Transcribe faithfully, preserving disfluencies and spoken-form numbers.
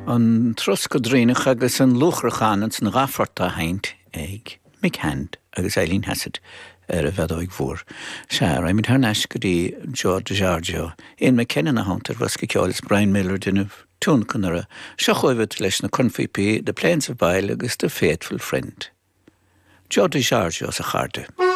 An Troscadh Draíochtach agus an Luachrachán an san dhá phort á sheinnt ag Mick Hand agus Eileen Hassett ar an bhfeadóig mhór. Sea, raghaimid thar n-ais go dtí Joe DiGiorgio, Ian McKenna ina theannta ar bhosca ceoil is Brian Miller ag déanamh tionlacan air. Seo chugaibh leis na cornphíopaí, The Plains of Bile agus The Faithful Friend. Joe DiGiorgio is a chairde.